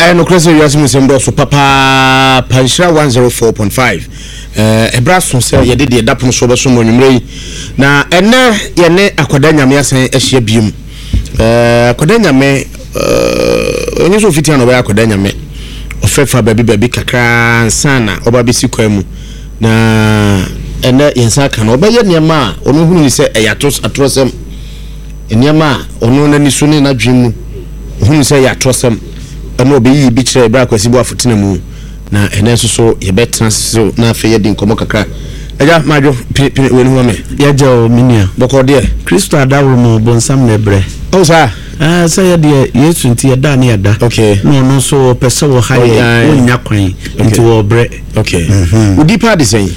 Ɛyɛ nokorɛ sɛ wiase mu nsɛm dɔɔso papaapa. Nhyira 104.5. Ɛberɛ aso sɛ yɛde deɛ ɛda pono soɔ bɛsom wɔ anwummerɛ yi. Na ɛnɛ yɛne Akwadaa Nyame asan ahyia biom. Akwadaa Nyame, ɔnyɛ sɛ ɔfiti a na ɔbɛyɛ Akwadaa Nyame. Ɔfɛfa baabi baabi kakra ansa na ɔba bɛsi kwan mu. Na ɛnɛ yɛn nsa aka no, ɔbɛyɛ nneɛma a ɔno hunu ne sɛ ɛyɛ atorɔsɛm. Nneɛma a ɔno n'ani so ne n'adwene mu ohunu sɛ ɛyɛ atorɔsɛm na ɔbɛyiyi bi kyerɛɛ berɛ a Kwasi Boafo tena mu. Na ɛnnɛ nso so yɛbɛtena ase so na afei yɛadi nkɔmmɔ kakra. Agya Madwo, pene pene w'ani ho ma me. Yɛgya o, me nua. Bɔkɔɔ deɛ. Kristo adaworo mu, bonsam na ɛbrɛ. Oh saa? Ɛɛ, sɛ yɛ deɛ Yesu nti yɛda ne yɛda. Okay. Na ɔno nso ɔpɛ sɛ ɔha yɛn, ɔnnya kwan, nti ɔrebrɛ. Okay. Wo din paa de sɛn?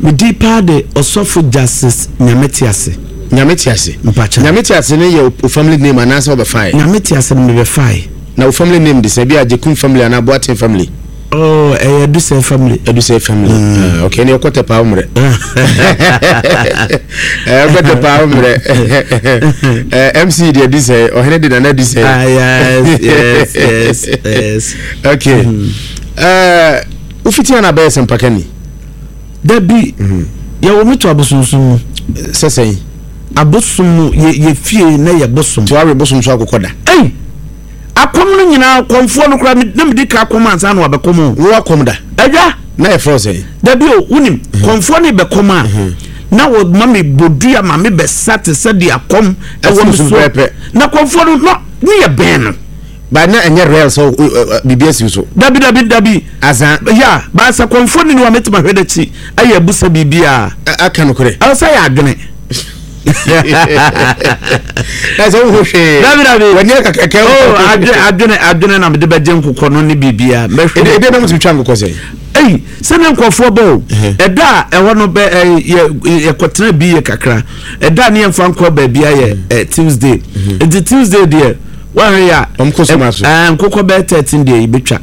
Me din paa de Ɔsɔfo Justice Nyame Tease. Nyame te ase. Mpakyɛw. Nyame te ase no yɛ wo family name anaasɛ wobɛfae? Nyame te ase no mebɛfae. Na wo family name de sɛn? Bi a Agyekum family anaa Boateng family? Oh, ɛyɛ Adusɛ family. Adusɛ family. Ah, okay, ɛne ɔkɔ tɛpaa wo mmerɛ. Ɔkɔ tɛpaa wo mmerɛ. MC de Adusɛ, ɔhene de Nana Adusɛ. Ah, yes, yes, yes, yes. Okay. Wofiti ana bɛyɛ sɛmpakani? Dabi, yɛwɔ me to abosonsom mu. Sɛ sɛn? Abosom mu, yɛ yɛ fie na yɛ bosom. Nti wawe bosom so akokɔ da? Ei! Akɔm no nyinaa, kɔmfoɔ no koraa, na medi ka akɔm ansa na wabɛkɔm o. Wo akɔm da? Agya! Na yɛfrɛ wo sɛn? Dabi o, wonim, kɔmfoɔ no rebɛkɔm a, na wɔma me bodua ma me bɛsa te sɛ deɛ akɔm ɛwɔ me so. Na kɔmfoɔ no, na ne yɛ bɛn no. But na ɛnyɛ real sɛ biribi asi so. Dabi dabi dabi. Asa. Ya baasa kɔnfo ni wa mɛtuma hwɛ n'akyi ayɛ abusa biribi a. Aka no korɛ. Ɛwɔ sɛ yɛ adwene. Na sɛ wohu hwee. Dabi dabi. W'ani akakɛkɛ. Oh adwene adwene adwene na mede bɛgye nkokɔ no ne biribi a mɛhwɛ. Ebi ebi na mo tumi twa nkokɔ sɛ. Eyi sɛ ne nkɔfoɔ bɔ o. Ɛda a ɛhɔ no bɛ ɛ yɛ yɛkɔtena bi yɛ kakra. Ɛda a ne yɛmfa nkɔ baabi ayɛ ɛ Tuesday. Nti Tuesday deɛ. Woahwɛ yi a, Wɔn kɔ soma so. ɛɛ nkokɔ bɛyɛ 13 deɛ yɛbɛtwa.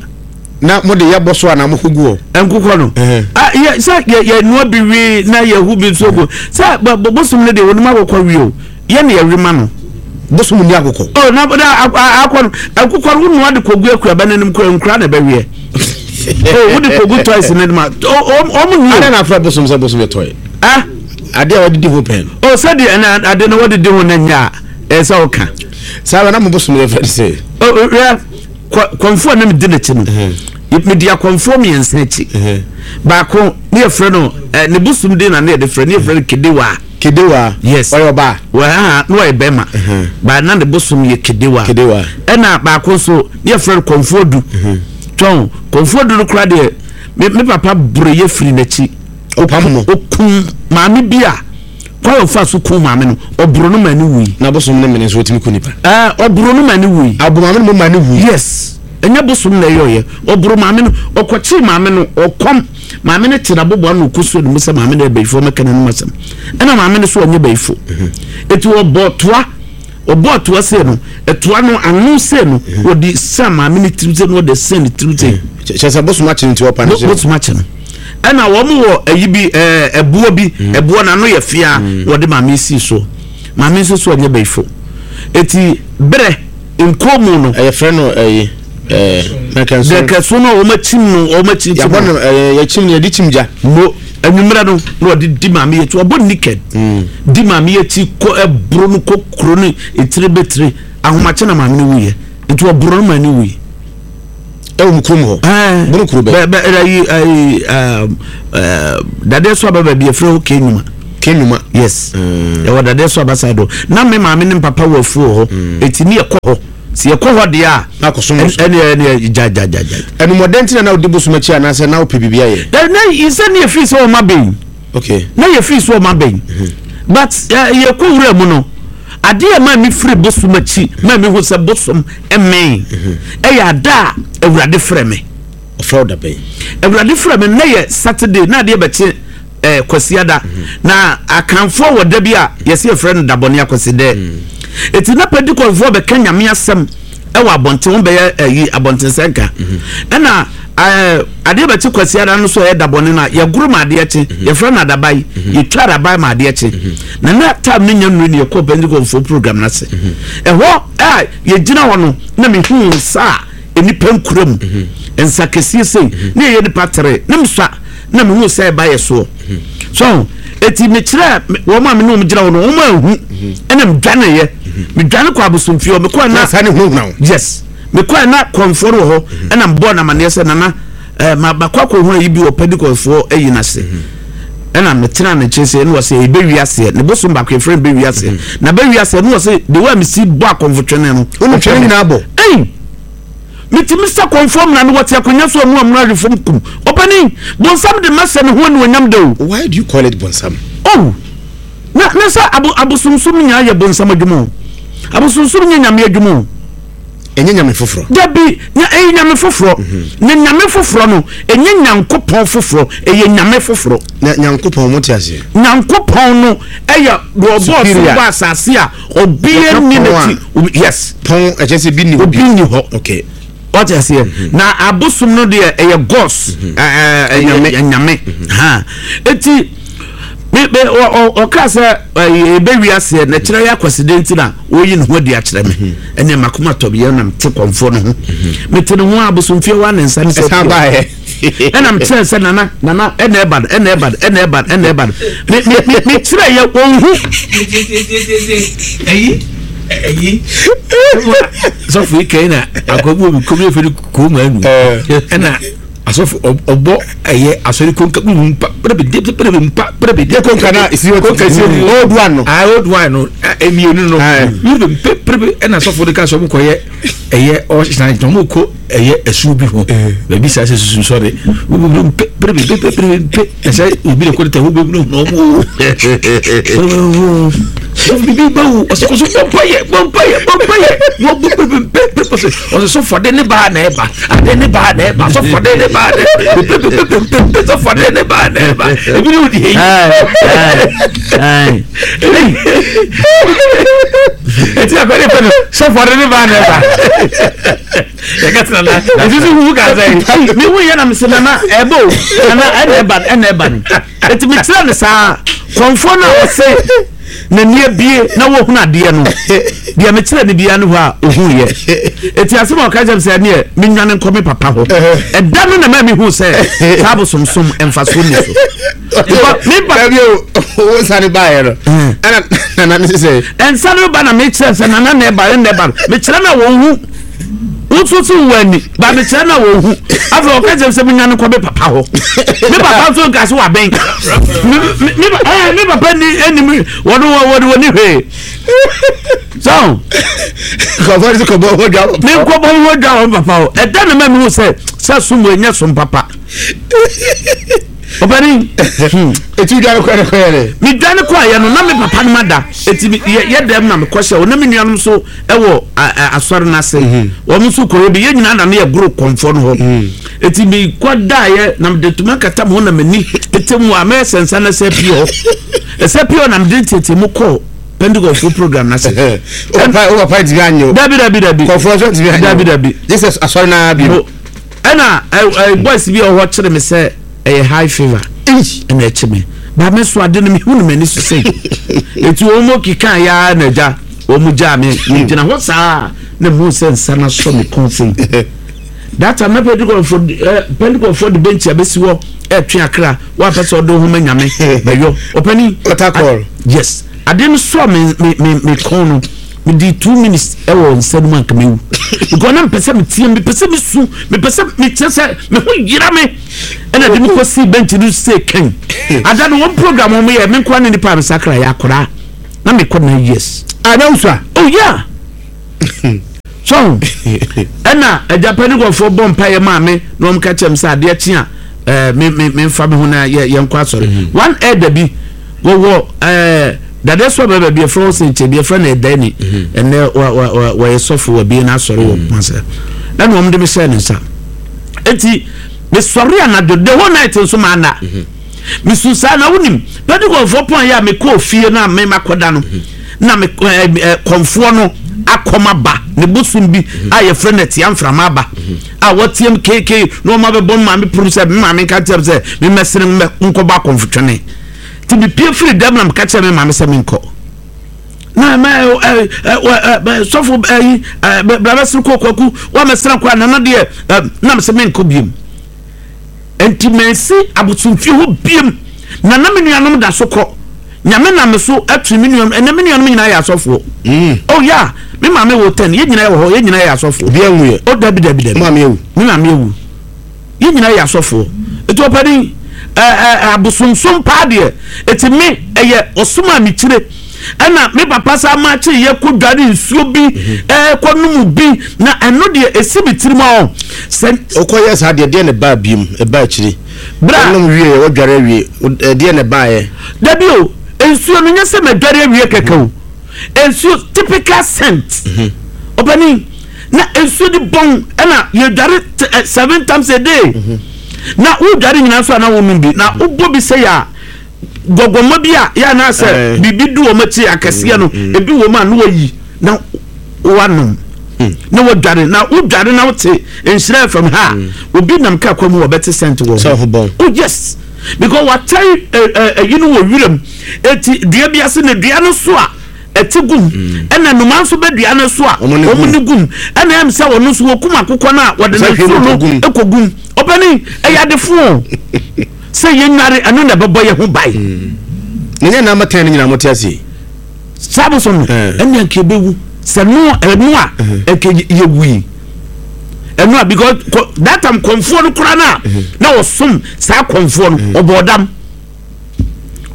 Na mo de yɛbɔ so anaa mo kɔ gu hɔ? Nkokɔ no. Ah, yɛ sɛ yɛ yɛ noa bi we na yɛhu bi nso gu. Sɛ bɔ bɔ bosom no deɛ wɔnim akokɔ we o. Yɛ na yɛwe ma no. Bosom ni akokɔ. Oh, na na akɔ no nkokɔ no wonoa de kɔgu akuaba no anim kora nkura na ɛbɛweɛ. Oh, wode kɔgu toys no anim a ɔmo ni o. Adɛn na afrɛ bosom sɛ bosom yɛ toy? Ah? Adeɛ a wɔde di ho pɛn. Oh, sɛdeɛ ɛna ade no wɔde di ho no nyɛ a. Ɛyɛ sɛ woka. Saa bɛ na mo bosom yɛ fɛ sɛ. Hwɛ kɔnfoɔ na medi n'akyi no. Medi akɔnfoɔ mmiɛnsa akyi. Baako ne yɛfrɛ no ne bosom din na ne yɛde frɛ ne yɛfrɛ no Kedewa. Kedewa. Yes. Ɔyɛ ɔbaa. Wɔ na ɔyɛ bɛrima. Ba na ne bosom yɛ Kedewa. Kedewa. Ɛna baako nso ne yɛfrɛ no kɔnfoɔ du. Twɔn kɔnfoɔ du no koraa deɛ me me papa boro yɛ firi n'akyi. Ɔpam no. Okum maame bi a. Kwan a ɔfaa so kum maame no, ɔboro no ma ne wui. Na bosom ne mene nso ɔtumi ku nipa. Ɛɛ, ɔboro no ma ne wui. Ɔboro maame no ma ne wui. Yes, ɛnyɛ bosom na ɛyɛ ɔyɛ. Ɔboro maame no, ɔkɔkyee maame no, ɔkɔm. Maame no te n'aboboa na ɔkɔsuo ne mu sɛ maame no yɛ bayifoɔ mɛka n'anom asɛm. Ɛna maame no so ɔnyɛ bayifo. Eti ɔbɔ toa, ɔbɔɔ toa sei no, ɛtoa no ano sei no, wɔde san maame no tirim sei na wɔde san ne tirim sei. Kyerɛ sɛ bosom akye no nti ɔpa no so. Bosom akye no. Ɛna wɔn wɔ ayi bi ɛɛ ɛboɔ bi mm. ɛboɔ n'ano yɛ fia mm. wɔde maame si so maame nso so ɔnyɛ bɛyifo eti brɛ nkɔn no. Ɛyɛ fɛ no ɛyi ɛɛ nɛkɛso. Nɛkɛso no wɔn akyim no wɔn akyim kyim. Yabɔ no ɛɛ yɛkyim no yɛde kyim gya. Mo enyimrɛ no na wɔde di maame yɛ ti wɔbɔ naked mm. di maame yɛ ti kɔ ɛboro no kɔ kuro no etire bɛtire ahomakye na maame no wuyɛ nti wɔboro no ma ne wuyi. Ɛwɔ mu kurom hɔ. Ɛɛ Bono kuro bɛn? Bɛ bɛ ɛyi ɛyi ɛɛ dadeɛ so aba baabi efirɛ hɔ Kenuma. Kenuma. Yes. Ɛwɔ dadeɛ so aba side hɔ. Na me maame ne papa wɔ afuo wɔ hɔ. Mm. Eti ne yɛkɔ hɔ. Si yɛkɔ hɔ deɛ a. Na akɔ som so. Ɛne ɛne gya gya gya gya. Ɛnumɔdɛn ti na na odi bosom akyi anaasɛ na wopɛ biribi ayɛ? Ɛ na sɛ ne yɛfiri sɛ ɔma bɛn. Okay. Na yɛfiri sɛ ɔma bɛn. Mhm. But yɛkɔ wura mu no. Adeɛ a ɛmaa me firi bosom akyi maa me hu sɛ bosom mmɛn ɛyɛ ada a Awurade frɛ me. Ɔfrɛ wo da bɛn? Awurade frɛ me na yɛ Saturday na adeɛ bɛkye eh, Kwasiada mm -hmm. na Akanfoɔ wɔ da bi a yɛsɛ yɛfrɛ no dabɔne akwasidɛ mm. Eti na Pentecostefoɔ bɛka Nyame asɛm ɛwɔ abɔnten wɔn bɛyɛ ɛyi abɔnten sɛnka mhm. ɛna ɛɛ adeɛ bɛkye kwasiada no so ɛyɛ dabɔne no a yɛgoro ma adeɛ kye mhm. yɛfrɛ no adabae mhm. yɛtwa adabae ma adeɛ kye na na tam ne nya nnuro ne yɛkɔ Pentecostfoɔ program no ase ɛhɔ a yɛgyina hɔ no na mehu nsa a nnipa nkura mu nsa kɛseɛ sei ne ɛyɛ nipa tere ne mesua na mehu sɛ ɛba yɛ soɔ so eti mekyerɛ wɔn a me ne wɔn gyina hɔ no wɔn ahu ɛna medwaneeɛ medwane kɔ abosomfie hɔ mekɔɛ na saa ne hunahuna wo yes mekɔɛ na kɔnfoɔ no wɔ hɔ ɛna mebɔɔ no amaneɛ sɛ nana ɛɛ ma bakɔ akɔhunu ayi bi wɔ pentikɔfoɔ ayi no ase ɛna metena ne nkyɛn sɛ ɛna wɔ sɛ ɛbɛwi aseɛ ne bosom baako yɛfrɛ no bɛwi aseɛ mhm. na bɛwi aseɛ ne wɔ sɛ de wɔ a mesi bɔ akɔmfo twene no wone twene nyinaa bɔ ɛyi metumi sɛ kɔmfoɔ mmara no wɔte akonnwa so ɔmu amuna ahwe fam kum ɔpani bonsam de masɛ ne ho anuonyam da o why do you call it bonsam oh na na sɛ abo abosomsom nyinaa yɛ bonsam adwuma o abosomsom nyɛ nyame adwuma o Ɛnyɛ nyame foforɔ. Dabi, na ɛyɛ nyame foforɔ. Mhm. Na nyame foforɔ no, ɛnyɛ nyankopɔn foforɔ, ɛyɛ nyame foforɔ. Na nyankopɔn mo te aseɛ. Nyankopɔn no ɛyɛ deɛ ɔbɔɔ soro bɔ asase a obiara nni n'akyi. Yes. Pɔn ɛkyɛ sɛ bi ni hɔ. Obi nni hɔ. Okay. Wate aseɛ. Mhm. Na abosom no deɛ ɛyɛ gods. Mhm. Ɛyɛ nyame. Ha. Eti me me ɔka sɛ ɛbɛwi aseɛ na kyerɛ yɛ akwaside nti na ɔyi ne ho adi akyerɛ me mhm. ɛnna makoma tɔ bi ɛna mete kɔnfoɔ no ho mhm. mete ne ho abosomfie wa ne nsa ne sɛ ɛna mekyerɛ sɛ nana nana ɛna ɛba no ɛna ɛba no ɛna ɛba no ɛna ɛba no me me me mekyerɛ yɛ wɔn ho. ɛyi ɛyi sɔfo yi kɛyi na akɔbu obi kɔmi efe ni kɔn anu ɛna. Asɔfo ɔbɔ ɛyɛ asɔre konka bi mpa pere de pere mpa pere de. Konka na esi hɔ konka esi hɔ old one no. Ah old one no emienu no. Yiri mpe pere ɛna asɔfo de ka sɛ ɔmo kɔ yɛ ɛyɛ ɔhyɛn na ɔmo kɔ ɛyɛ ɛsuo bi ho baabi saa sɛ susu sɔre mpe pere mpe pere mpe ɛsɛ obi de kɔ de tɛ ho bɛ mu na ɔmo o. Bibi ba wo ɔsɛ ɔsɛ bɔ mpa yɛ bɔ mpa yɛ bɔ mpa yɛ wɔ bɔ pere mpe pere ɔsɛ ɔsɛ sɔfo de ne baa na ɛba ade ne baa na ɛba sɔfo de ne baa na ɛba pepepepepepe sɔfo de ne baa na ɛba ebi ne odi eyi eti akɔde pɛ no sɔfo de ne baa na ɛba yɛka tena na ebi nso hu ka sɛ mi hu yɛ na mi sɛ nana ɛbɛ o nana ɛna ɛba ɛna ɛba no eti mi kyerɛ ne saa kɔnfoɔ no a ɔsɛ. N'ani abue na wahunu adeɛ no, deɛ mekyerɛ no biara ne hɔ a ɔhuiɛ. Eti asɛm a ɔka kyerɛ me sɛ ɛneɛ menwane nkɔ me papa hɔ. Ɛda no na maa mehu sɛ saa abosomsom mfasoɔ nni so. Because me papa. Dabi o, wo nsa ne baeɛ no. Ɛna nana ne sɛ. Nsa no ba na mekyerɛ sɛ nana na ɛba na ɛba no. Mekyerɛ na wɔn hu. Woso so wɔ ani ba mekyerɛ na wɔn hu. Afei ɔka kyerɛ sɛ menwane nkɔ me papa hɔ. Me papa nso nka so wabɛn. Me me ɛɛ me papa ni anim wɔn wɔn wɔn ni hwee. So. Kɔfɔ ne kɔbɔ ho dwa. Me nkɔbɔ ho dwa wɔn papa hɔ. Ɛda na ma mi hu sɛ sɛ som wɔ nyɛ som papa. Ɔbɛni. Eti dwa ne kɔ ne kɔ yɛ dɛ. Me dwa ne kɔ ayɛ no na me papa no ma da. Eti yɛ dɛm na me kɔ hyɛ o na me nuanom so. ɛwɔ asɔre no ase mhm. wɔn nso kɔyɛ bi yɛn nyinaa na ne yɛ goro kɔnfɔ no hɔ mhm. eti mi kɔ daeɛ na mede tuma kata mu na m'ani tete mu a mɛyɛ sɛ nsa na ɛsɛ pii hɔ ɛsɛ pii hɔ na mede tete mu kɔ pentikɔfo program n'ase. o papa ntumi anyo. dabi dabi dabi kɔnfɔ nso ntumi anyo dabi dabi. jesus asɔre naa bi. ɛna ɛ ɛ boys bi wɔ hɔ kyerɛ mi sɛ. Ɛyɛ high fever ɛna ɛkye me ba me so ade no mehu no m'ani so sei eti wɔn mu keka ya na agya wɔn mu gyaa me gyina hɔ saa na mu sɛ nsa na sɔ me kɔn sei that time na pentikɔfo ɛ pentikɔfo de bench abɛsi hɔ ɛtwe akra wɔapɛ sɛ ɔde ho ma nyame bɛyɔ ɔpɛni yes ade no sɔ me me me me kɔn no. Medii 2 minutes wɔ nsa no mu anka mewu because na mepɛ sɛ meteɛ mepɛ sɛ mesu mepɛ sɛ mekyerɛ sɛ me ho yera me ɛna de me kɔsii bench no sɛ kan ada no wɔn program wɔn yɛ me nkoa ne nipa a mesakra yɛ akwaraa na mekɔ 9 years. Ah, na wosua? Oh yeah. So ɛna agya pɛnikɔfoɔ bɔ mpaeɛ maa me na wɔn ka kyerɛ me sɛ adeɛ kye a ɛɛ me me me nfa me ho na yɛ yɛn kɔ asɔre. One elder bi wɔwɔ ɛɛ dade so abɛbɛ bi ɛfrɛ wɔn sɛ nkyɛn bi ɛfrɛ no ɛdani ɛnɛ wa wa wa wɔyɛ sɔfo wɔ bi n'asɔre wɔ kumase ɛna wɔn de me hyɛ ne nsa eti me sɔre anadwo the whole night nso maa na me su saa na wonim pɛtikɔfoɔ pɔn yɛ a me kɔɔ fie na me ma kɔda no na me ɛɛ ɛɛ kɔnfoɔ no akɔm aba ne bosom bi a yɛfrɛ no ɛtia mframa aba a wɔteam keekee na wɔn abɛbɔ maame pono sɛ me maame nka kyerɛ sɛ me mɛsene mɛ nkɔbɔ akɔnfotwene. Nti mepue firi dɛm na meka kyerɛ me maame sɛ menkɔ. Na mɛ ɛ ɛ ɛ sɔfo ɛyi ɛ brabɛsiri kɔ kwaku wa mɛsira kɔ a nana deɛ ɛ nam sɛ mɛnkɔ biem. Nti mɛnsi abosomfie hɔ biem na na me nuanom da so kɔ. Nyame nam me so atiri me nuanom ɛnɛ me nuanom nyinaa yɛ asɔfoɔ. Mm. Oh yeah, me maame wɔ ten yɛn nyinaa wɔ hɔ yɛn nyinaa yɛ asɔfoɔ. Obi anwu yɛ. Oh dabi dabi dabi. Maame awu. Me maame awu. Yɛn nyinaa yɛ asɔfoɔ. Eti ɔpanin ɛɛ ɛɛ abosomsom paa deɛ eti me ɛyɛ ɔsom a mekyire ɛna me papa saa maakye yɛ kɔ dware nsuo bi ɛɛ kɔ nom bi na ɛno deɛ esi me tirim ɔ sɛ. Okɔ yɛ saa deɛ deɛ na ɛbaa biem ɛbaa akyire. Bra. Ɔnom wie yɛ wɔdware awie ɛdeɛ na ɛbaa yɛ. Dabi o nsuo no nyɛ sɛ mɛdware awie kɛkɛ o nsuo typical scent ɔpanin. Na nsuo de bɔn ɛna yɛdware eh, seven times a day mhm. Na wodware nyinaa nso a na wonom bi na wobɔ bi sɛ yɛ a gɔgɔmɔ bi a yɛ anaasɛ eh. Biribi du wɔn akyi akɛseɛ no mm, mm. Ebi wɔ mu a na wayi na wanom mm. Na wadware na wodware na wote nhyira fam ha obi nam kaa kwan mu wɔbɛte sɛnte wɔ ho. Oh yes, because watɛn ɛyi no wɔ wiram eti dua bi ase na dua no so a ɛte gum ɛna nnomaa nso bɛ dua no so a wɔn ne gum ɛna ɛm sɛ wɔn nso wɔkum akokɔ no a wɔde ne nso no kɔ gum ɔbɛni ɛyɛ adefo sɛ yɛn nware ɛno na ɛbɛbɔ yɛn ho ban. Na nyɛ namba tɛn no nyinaa mo te ase. Saa bosom no ɛna nka ebewu sɛ no ɛno a nka yɛwui ɛno a because that time kɔnfoɔ no koraa no a na wɔsom saa kɔnfoɔ no ɔbɔ ɔdam.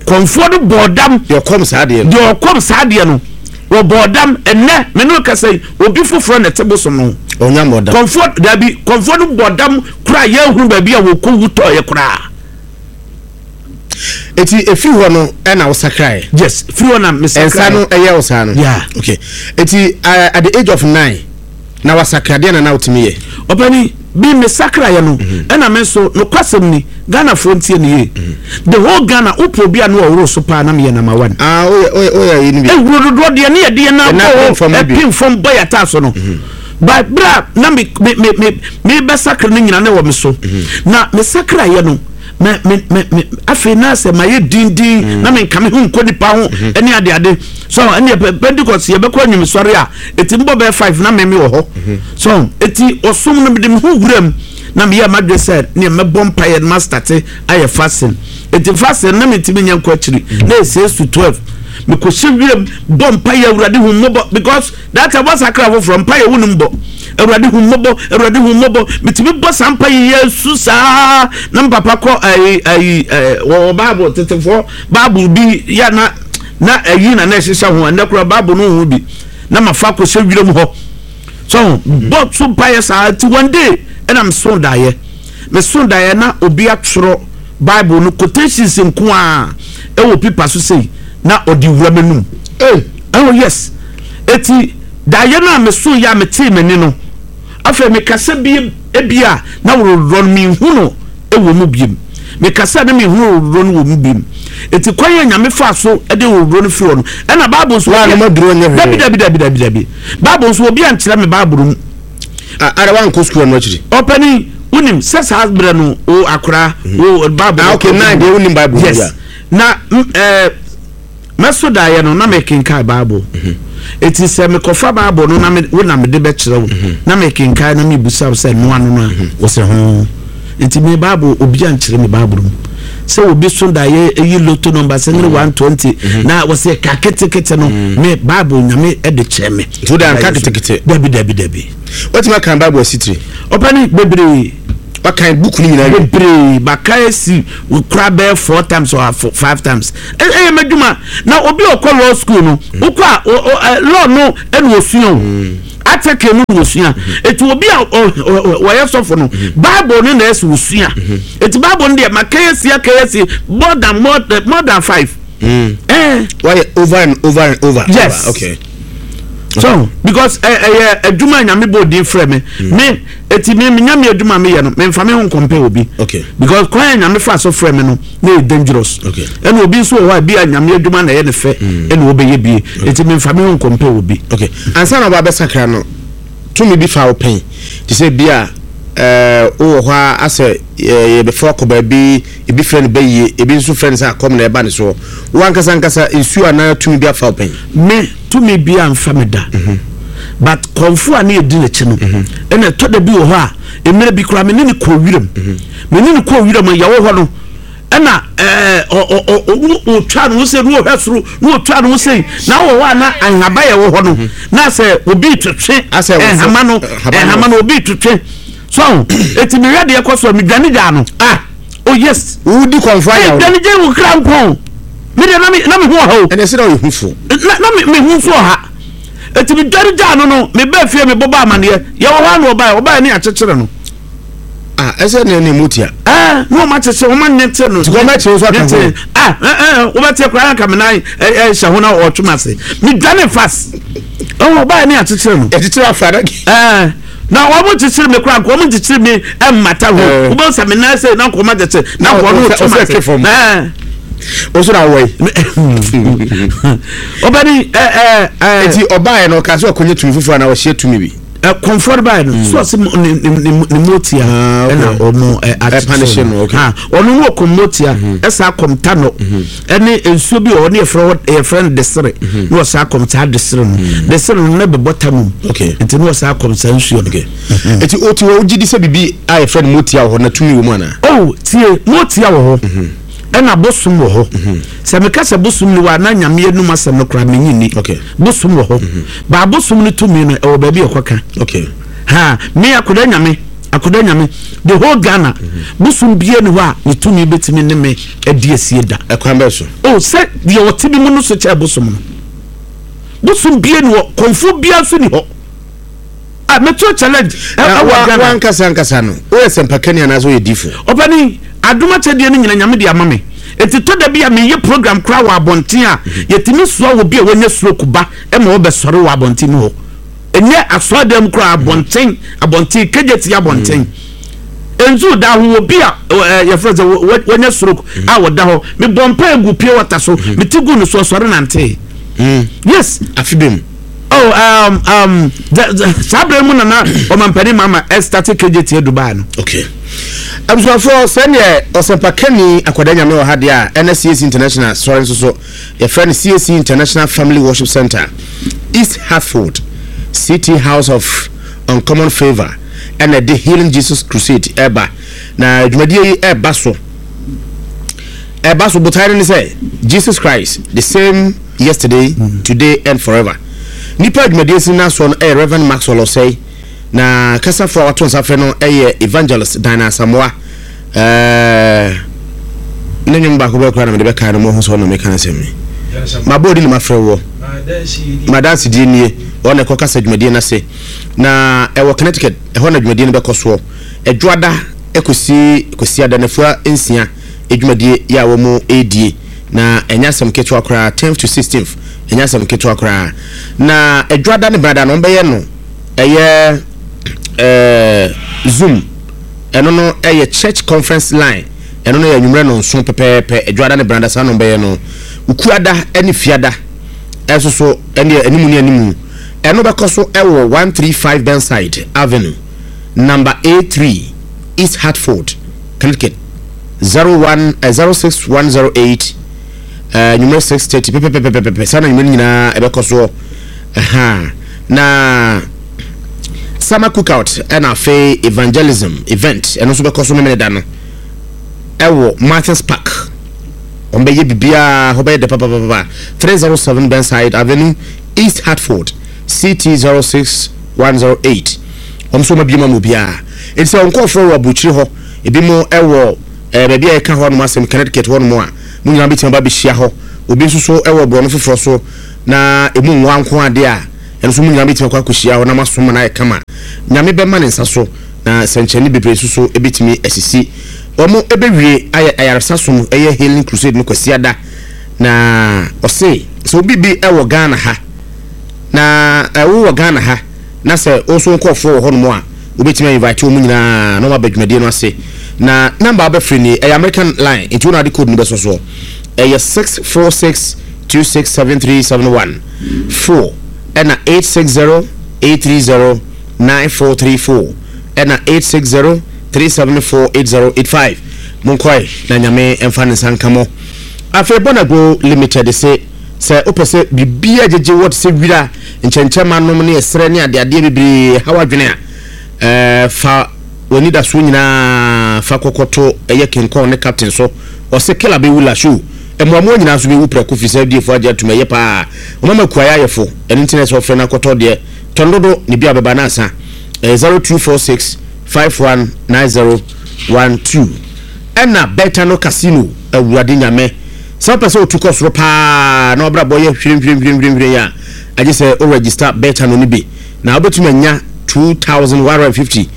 Kɔmfoɔ no bɔɔ dam. Deɛ ɔkɔm saa adeɛ no. Deɛ ɔkɔm saa adeɛ no, wɔbɔɔ dam. Ɛnnɛ, me ne wo kasa yi, obi foforɔ na ɛte bosom no ho. Ɔnya mmɔɔ dam. Kɔmfoɔ, dabi, kɔmfoɔ no bɔɔ dam koraa yɛnhunu baabi a wɔkɔwu tɔeɛ koraa. Eti efiri hɔ no ɛna wosakraeɛ? Yes, firi hɔ na mesakraeɛ. Nsa no ɛyɛ wo saa no? Yeah. Okay. Eti uh, at the age of nine, na wasakra deɛ na na wotumi yɛ? Ɔpani, bi me sakraeɛ no, ɛna me nso, nokwasɛm ni, Ghanafoɔ ntie no yie. The whole Ghana, wopɛ obi a na ɔworo so paa na meyɛ number one. Ah, woyɛ, woyɛ, woyɛ ayi no bi. Ehuro dodoɔ deɛ ne yɛde yɛn nan Yɛn nan bɔ pem fam no hɔ, bi. ɛpem fam bɔ yɛn ataa so no. But berɛ a na me, me, me, me, mebɛsakra no nyina na ɛwɔ me so. Na me sakraeɛ no, me, me, me, me, afei na sɛ mayɛ dindin, na menka me ho nkɔ nipa ho, ɛne adeade. So ɛne Pentecost yɛbɛkɔ anwumsɔre a, Eti mebɔ bɛyɛ five na meme wɔ hɔ. So eti ɔsom no mede me ho wura mu na meyɛ m'adwene sɛ nea mɛbɔ mpaeɛ no mastate ayɛ fasting. Eti fasting na mentumi nyɛ nkɔ akyiri na ɛyɛ 6 to 12. Mekɔhyɛ wiram bɔ mpaeɛ, Awurade hu mmɔbɔ, because that time wasakra foforɔ, mpaeɛ wonim bɔ. Awurade hu mmɔbɔ, Awurade hu mmɔbɔ. Metumi bɔ saa mpaeɛ yi asu saa na me papa kɔ ayi ayi ɛɛ wɔwɔ Bible tetefoɔ Bible bi yɛ na na ayi na na ɛhyehyɛ ho ɛnɛ koraa Bible no ho bi na mafa akɔhyɛ wiram hɔ so bɔ so mpaeɛ saa ti one day ɛna meso daeɛ meso daeɛ na obi atwerɛ Bible no quotations nko a ɛwɔ pipa so sei na ɔde wura m'anum. Oh yes, eti daeɛ no a meso yɛ a metee m'ani no afei mekasa bi ebia na worɔworɔ no menhu no wɔ mu biom. Mekasa na menhunu owurɔ no wɔ mu biom. Eti kwan a Nyame faa so de owurɔ no firi hɔ no, ɛna Bible nso obi a, dabi dabi dabi dabi dabi, Bible nso obi ankyerɛ me Bible mu. Ara wankɔ sukuu ɛno akyiri? Ɔpanin, wonim sɛ saa berɛ no o akora o Bible. Ah okay, nine deɛ wonim Bible mu. Yes, na ɛɛ. Eh, Mɛso daeɛ no, na merekenkan Bible. Enti sɛ mekɔfa Bible no na me, wo na mede bɛkyerɛ wo, na merekenkan na mebisa wo sɛ noa no no a, wo sɛ ho. Enti me Bible, obi ankyerɛ me Bible mu. Sɛ obi so daeɛ yi lotto number sɛ ne 120 na wɔsɛ ka ketekete no, me Bible Nyame de kyerɛ me. Nti wode anka ketekete? Dabi, dabi, dabi. Watumi akan Bible asitire? Ɔpɛni, bebree. Wakan book no nyinaa wie? Bebree, maka asi kora bɛyɛ four times or five times. Ɛyɛ m'adwuma. Na obi a ɔkɔ law school no, mm. wokɔ a law no ɛna osua o. Mm. Article no na osua. Mm. Eti obi a wɔyɛ sɔfo no, Bible no na ɛsɛ osua. Eti Bible no deɛ maka asi aka asi more than more, more than five. Mm. Eh. Why over and over and over? Yes. Over. Okay. So because ɛyɛ adwuma nyame bɔ odin frɛ me. Me eti me me nyame adwuma me yɛ no me nfa me ho nkɔmpɛ obi. Okay. Because kwan a nyame fa so frɛ me no na yɛ dangerous. Okay. Ɛna obi nso wɔ hɔ a bi a nyame adwuma na ɛyɛ ne fɛ ɛna ɔbɛyɛ bie. Eti me nfa me ho nkɔmpɛ obi. Okay. Ansa na ɔba abɛsakra no tumi bi fa wo pɛn te sɛ bi a ɛɛ wowɔ hɔ a asɛ yɛbɛfa akɔ baabi, ebi frɛ no bɛyie, ebi nso frɛ no sɛ akɔm na ɛba ne soɔ. Wo ankasa ankasa nsuo anaa tumi bi afa wo pɛn? Me, tumi biara mfa me da. But kɔmfoɔ a ne yɛdi n'akyi no, ɛna ɛtɔ da bi wɔ hɔ a, mmerɛ bi koraa me ne no kɔɔ wiram. Me ne no kɔɔ wiram a yɛwɔ hɔ no, ɛna ɛɛ ɔ ɔ ɔ ɔtwa ne ho sei na ɔhwɛ soro na ɔtwa ne ho sei na wɔ hɔ a na nhaba yɛ wɔ hɔ no na sɛ obi twetwe nhama no nhama no obi twetwe so eti mehwɛ deɛ kɔ so a medwane gyaa no ah oh yes wodi kɔnfo ayɛ wo dwane gya wo kra nkɔn me deɛ na me na me ho ɔha o ɛnɛ sɛ na ɔyɛ hufo na na me me ho nso ɔha eti medwane gyaa no no mebɛɛ fie mebɔbɔ amaneɛ yɛwɔ hɔ a na ɔbaeɛ ɔbaeɛ ne akyekyere no. Ah, ɛsɛ ne ne mu tia. Ɛɛ, ne wɔn akyekyere wɔn anete no. Ti wɔn akyere nso aka ho. Ah, ɛɛ ɛɛ, wobɛte koraa nka me nan ɛɛ hyɛ ho na ɔtwe ma se. Me dwane fast. Ɛwɔ ɔbaa ne akyekyere no. Akyekyere afa na. Ɛɛ, na wɔn kyekyere me koraa nka wɔn kyekyere me ɛmmata ho. Wobɛn sɛ me nan sɛ na nka wɔn akyekyere na nka wɔn ɔtwe ma se. Ɛɛ. Osu na awɔ yi. Ɔbɛni ɛɛ ɛɛ. Eti ɔbaa yɛ no ɔka sɛ ɔkɔnyɛ tumi foforɔ na ɔhyɛ tumi bi. Kɔnfɔr bae no so ɔse ne ne motia ah, ɛna ɔmo akyekyere no ɔno no ɔkɔm motia ɛsa akɔm tanɔ ɛne nsuo bi wɔ hɔ ne yɛfrɛ hɔ yɛfrɛ no desere na ɔsa akɔm saa desere no desere no na bɛbɔ tanɔ mu nti na ɔsa akɔm saa nsuo no. Eti o ti hɔ wogye di sɛ biribi a yɛfrɛ no motia wɔ hɔ na tumi wɔ mu anaa? Oh tie motia wɔ hɔ ɛna bosom wɔ hɔ sɛ meka sɛ bosom ni wɔ a na nyame anum asɛm no koraa menye nni bosom wɔ hɔ. Ba abosom no tumi no ɛwɔ baabi ɛkɔ ka. Okay. Ha me akoda nyame akoda nyame the whole Ghana mm -hmm. bosom bie ni hɔ a ne tumi betumi ne me adi asie da. Ɛkwan bɛɛ so. Oh sɛ deɛ ɔte bi mu no so kyɛ bosom no. Bosom bie ni hɔ kɔnfo bia nso ni hɔ. Ah meto challenge ɛwɔ Ghana. Wankasa ankasa no woyɛ sɛmpakani anaasɛ woyɛ difo? Ɔpani adom akyɛdeɛ no nyina nyame de ama me. Enti tɔ da bi a meyɛ program koraa wɔ abɔnten a yɛtumi soa obi a wanya stroke ba ma wɔbɛsɔre wɔ abɔnten mu hɔ. Ɛnyɛ asɔredan mu koraa, abɔnten, abɔnten, kegyeti abɔnten. Nzu da ho obi a yɛfrɛ sɛ wanya stroke a wɔda hɔ. Mebɔ mpae gu pure water so, mete gu no so ɔsɔre nantee. Yes. Afe bɛ mu. Oh, um, um, saa berɛ mu na na ɔmampanin mama ɛstate kegyeti Dubai no. Okay. Abusuafoɔ sɛdeɛ ɔsɛmpakani Akwadaa Nyame wɔ ha deɛ a ɛna CAC International sɔre nso so Yɛfrɛ no CAC International Family Worship Center, East Hartford, CT House of Uncommon Favour ɛna ɛde Healing Jesus Crusade ɛreba. Na dwumadie yi ɛreba so ɛreba so botae no ne sɛ Jesus Christ the same yesterday, today and forever. Nipa dwumadie si n'asoɔ no ɛyɛ Reverend Maxwell Osei. Na kasafo a wato nsa frɛ no yɛ Evangelist Dinah Asamoah. Ɛɛ ne nnwom baako bɛɛ koraa na mede bɛkae no mo ho sɛ ɔno meka asɛm yi. Mabɔ odi na mafrɛ woɔ. Madansedie nie. Ɔno na ɛkɔ kasa dwumadie no ase. Na ɛwɔ Connecticut, ɛhɔ na dwumadie no bɛkɔ soɔ. Ɛdwoada kɔsi Kwasiada nafua nsia dwumadie yɛ a wɔn redie. Na ɛnyɛ asɛm ketewa koraa, 10th to 16th, ɛnyɛ asɛm ketewa koraa. Na ɛdwoada ne benada no wɔbɛyɛ no ɛyɛ ɛɛ zoom ɛno no ɛyɛ church conference line ɛno no yɛ anwummerɛ no nso pɛpɛɛpɛ adwada ne brada saa no bɛyɛ no ukuada ɛne fiada ɛso so ɛne animu ne animu ɛno bɛkɔ so ɛwɔ 135 Burnside Avenue number A3 East Hartford Connecticut 01 06108 anwummerɛ 6:30 pɛpɛpɛpɛpɛ saa na anwummerɛ no nyinaa ɛbɛkɔ soɔ Ahaa na summer cookout ɛna afei evangelism event ɛno nso bɛkɔ so Memeneda no ɛwɔ Martins Park. Wɔn bɛyɛ biribiara hɔ bɛyɛ dɛ papapapa. 307 Burnside Avenue, East Hartford, CT 06108. Wɔn nso wɔn abie mu ama obiara. Enti sɛ wɔn nkurɔfoɔ wɔ aburokyire hɔ, ebi mo ɛwɔ ɛɛ baabi a yɛka hɔ nom asɛm Connecticut hɔ nom a, mo nyinaa bɛtumi aba abɛhyia hɔ. Obi nso so ɛwɔ borɔno foforɔ so. na emu nwa nko ara deɛ a, ɛno nso mo nyinaa bɛtumi akɔ akɔhyia hɔ na moasom ma no ayɛ kama. Nyame bɛma ne nsa so, na sɛnkyerɛnne bebree nso so bɛtumi asisi. Wɔn bɛwie ayɛ ayaresa som, ɛyɛ Healing Crusade no Kwasiada, na ɔse sɛ obi bi wɔ Ghana ha, na wowɔ Ghana ha, na sɛ wo nso wo nkurɔfoɔ wɔ hɔnom a, wobɛtumi a invite wɔn nyinaa na wɔn aba dwumadie no ase. Na number a wobɛfrɛ nie, ɛyɛ American line, nti wo na wode code no bɛsɔ soɔ. Ɛyɛ 646 267371 4 ɛna 860 830 9434. ɛna 860 374 8085. Monkɔe na Nyame mfa ne nsa nka mo. Afei Bonago Limited se sɛ wopɛ sɛ biribiara gyegye wɔ te sɛ wira, nkyɛnkyɛmma nom ne ɛserɛ ne adeadeɛ bebree haw adwene a, ɛɛ fa w'anidasoɔ nyinaa fa kɔkɔto ɛyɛ King Kong ne Captain so. Ɔse killer bɛwu la show. Mmoamoa nyinaa nso bɛwu prɛko firi sɛ FDA foɔ agye atum ɛyɛ paa. Wɔmama kuayɛ ayɛ fo ɛno nti na ɛsɛ ɔfrɛ no akɔtɔ deɛ tɔn dodo ne bi a bɛba na asa. Ɛyɛ 0246 519012. Ɛna Betano Casino Awurade Nyame sɛ wopɛ sɛ wotu kɔ soro paa na wabrabɔ yɛ hwirenhwirenhwirenhwiren a agye sɛ wo register Betano no bi na wobɛtumi anya 2150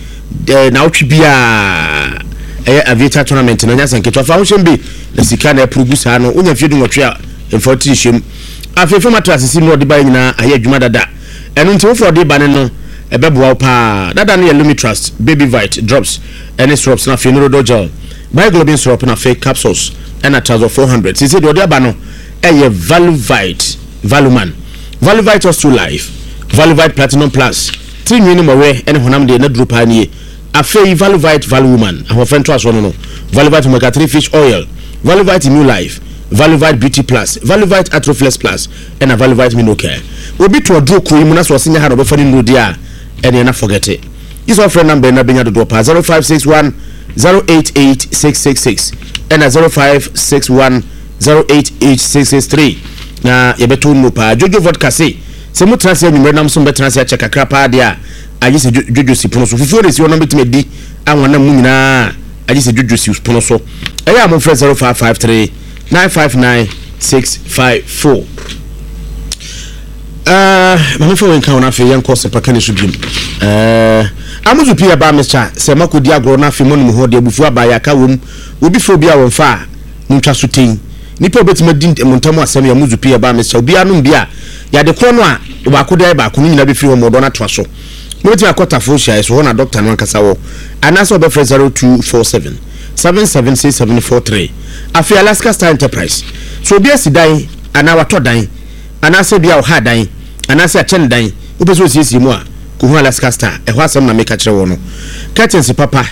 eh, naawɔtwe biara ɛyɛ aviator tournament no anya sɛ nketewa fa ho hyɛm bi na sika na ɛporo gu saa no wonya mfeɛ dunwɔtwe a mfa wo tiri hyɛm afei fam atra asese mu na ɔde baeɛ nyinaa ayɛ adwuma dada ɛno nti wofa ɔde ba ne no ɛbɛboa wo paa dada no yɛ Lumitrust baby vite drops ɛne syrups na afei Norodol gel Bioglobin syrup na afei capsules ɛna Trazol 400 sese deɛ ɔde aba no ɛyɛ Valuvite Valuman Valuvite Osteo Life Valuvite Platinum Plus Tiri nwi ne mmɔwerɛ ne honam deɛ n'aduro paa nie. Afei Valuvite Valuwoman, ahoɔfɛ ntoasoɔ no no, Valuvite Omega 3 Fish Oil, Valuvite New Life, Valuvite Beauty Plus, Valuvite Atroflex Plus, ɛna Valuvite Minocare. Obi to aduro kuro yi mu na sɛ ɔse nyɛ ha na ɔbɛfa ne nnuro deɛ a, ɛneɛ na forget it. Gye sɛ ɔfrɛ number yi na bɛnya dodoɔ paa, 0561 088 666 ɛna 0561 088 663 na yɛbɛtɔ nnuro paa. Jojo Vodka se. Sɛ motena ase anwummere nam so mobɛtena ase akyɛ kakra paa deɛ a, agye sɛ dwodwo si pono so. Fufuo na ɛsi hɔ na mobɛtumi adi anwanam mu nyinaa a, agye sɛ dwodwo si pono so. Ɛyɛ a momfrɛ 0553 959 654. Uh, ma mefa wei nka ho no afei yɛnkɔ sɛpaka ne so biom. Uh, amuzu pii ɛbaa mesha sɛ makɔdi agorɔ no afei monom ho de abufuo aba yɛaka wom obi frɛ obi a wɔmfa a montwa so tei nipa obɛtumi adi mo ntam asɛm yɛ amuzu pii ɛbaa mesha obiara nom bi a Yɛ ade korɔ no a baako de ayɛ baako no nyinaa bɛfiri hɔ ma ɔdɔ no atoa so. Mobɛtumi akɔ Tafo nhyiaeɛ so, hɔ na dɔkta no ankasa wɔ, anaasɛ wobɛfrɛ 0247 776743. Afei Alaska Star Enterprise. Sɛ obi asi dan anaa watɔ dan, anaasɛ ebia ɔha dan, anaasɛ akyɛ no dan, wopɛ sɛ osiesie mu a, kɔhu Alaska Star. Ɛhɔ asɛm na meka kyerɛ wo no. Curtains papa,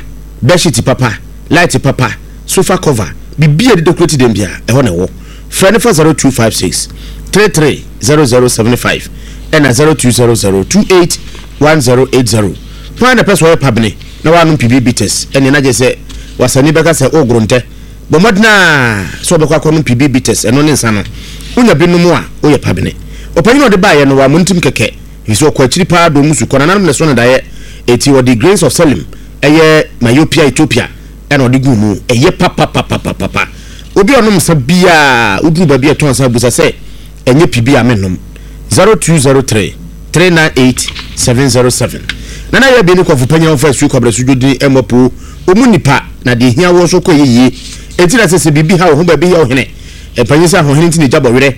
bedsheet papa, light papa, sofa cover, biribiara a yɛde decorate dan biara, ɛhɔ na ɛwɔ. Frɛ no fa 0256 33 0075 ɛna 0200 28 1080. Hwan na ɛpɛ sɛ ɔyɛ pabene na wanom PB bitters? Ɛneɛ na gye sɛ wasani bɛka sɛ o gorontɛ. Bɔ mmɔden a sɛ ɔbɛkɔ akɔnom PB bitters, ɛno ne nsa no. Wonya bi nom a, woyɛ pabene. Ɔpanyin a ɔde baeɛ no, wammɔ ne tirim kɛkɛ, ɛfiri sɛ ɔkɔ akyiri paa dɔɔ mu su kɔ. Nananom na ɛso no daeɛ, enti ɔde grains of selim, ɛyɛ myopia Ethiopia, ɛna ɔde guu mu. Ɛyɛ papapapapapa. Obi a ɔnom nsa biara, woduru baabi a ɛtɔn nsa a, bisa sɛ, Ɛnyɛ pi bi a mennom? 0203 398 707. Nana Yɛ Bi ne Kɔfo Panyin a wɔfa Asuo Kwabrɛ so dwodini mmɔ poo. Wɔn nnipa, na deɛ ehia woɔ nso kɔ ɛyɛ yie. Enti na sɛ sɛ biribi ha wo ho baabi yɛ wo hene. Mpanyin sɛ ahohene nti na egya bɔ werɛ.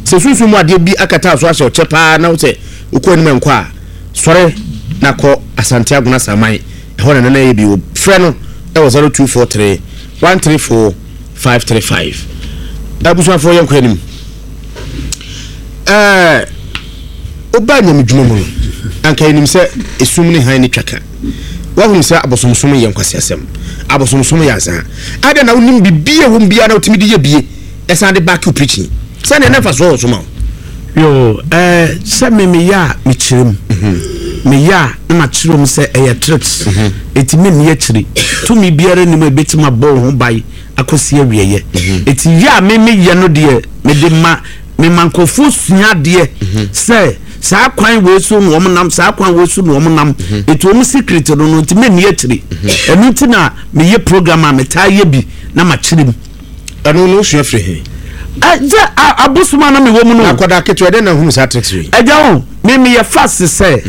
Sɛ sunsum mu adeɛ bi akata wo so ahyɛ wo kyɛ paa na wo sɛ wokɔ anim ɛnkɔ a, sɔre na kɔ Asante Agona Saman. Ɛhɔ na Nana Yɛ Bi wɔ. Frɛ no wɔ 0243 134 535. Abusuafoɔ yɛnkɔ anim. Ɛɛ wobaa nyamedwuma mu no, anka yɛnim sɛ esum ne hann ne twaka. Woahunu sɛ abosomsom yɛ nkwaseasɛm. Abosomsom yɛ azaa. Adɛn na wonim biribi a ɛwɔ mu biara na wotumi de yɛ bie ɛsan de back wo preaching? Sɛdeɛ na mfasoɔ wɔ so ma wo. Yoo, ɛɛ sɛ me meyɛ a mekyerɛ mu. Meyɛ a na makyerɛ mu sɛ ɛyɛ trips. Eti menni akyiri. Tumi biara nni mu a ebetumi abɔ wo ho ban akɔsi awieɛ. Eti yɛ a me meyɛ no deɛ mede ma mema nkurɔfoɔ sua adeɛ sɛ saa kwan wei so na wɔn nam, saa kwan wei so na wɔn nam. Eti wɔn secret no no nti menni akyiri. Ɛno nti na meyɛ program a metaa yɛ bi na makyerɛ mu. Ɛno no wosua firi he? Sɛ abosom a na mewɔ mu no. Na akwadaa ketewa dɛn na hunu saa tricks wei? Agya o, me meyɛ fast sɛ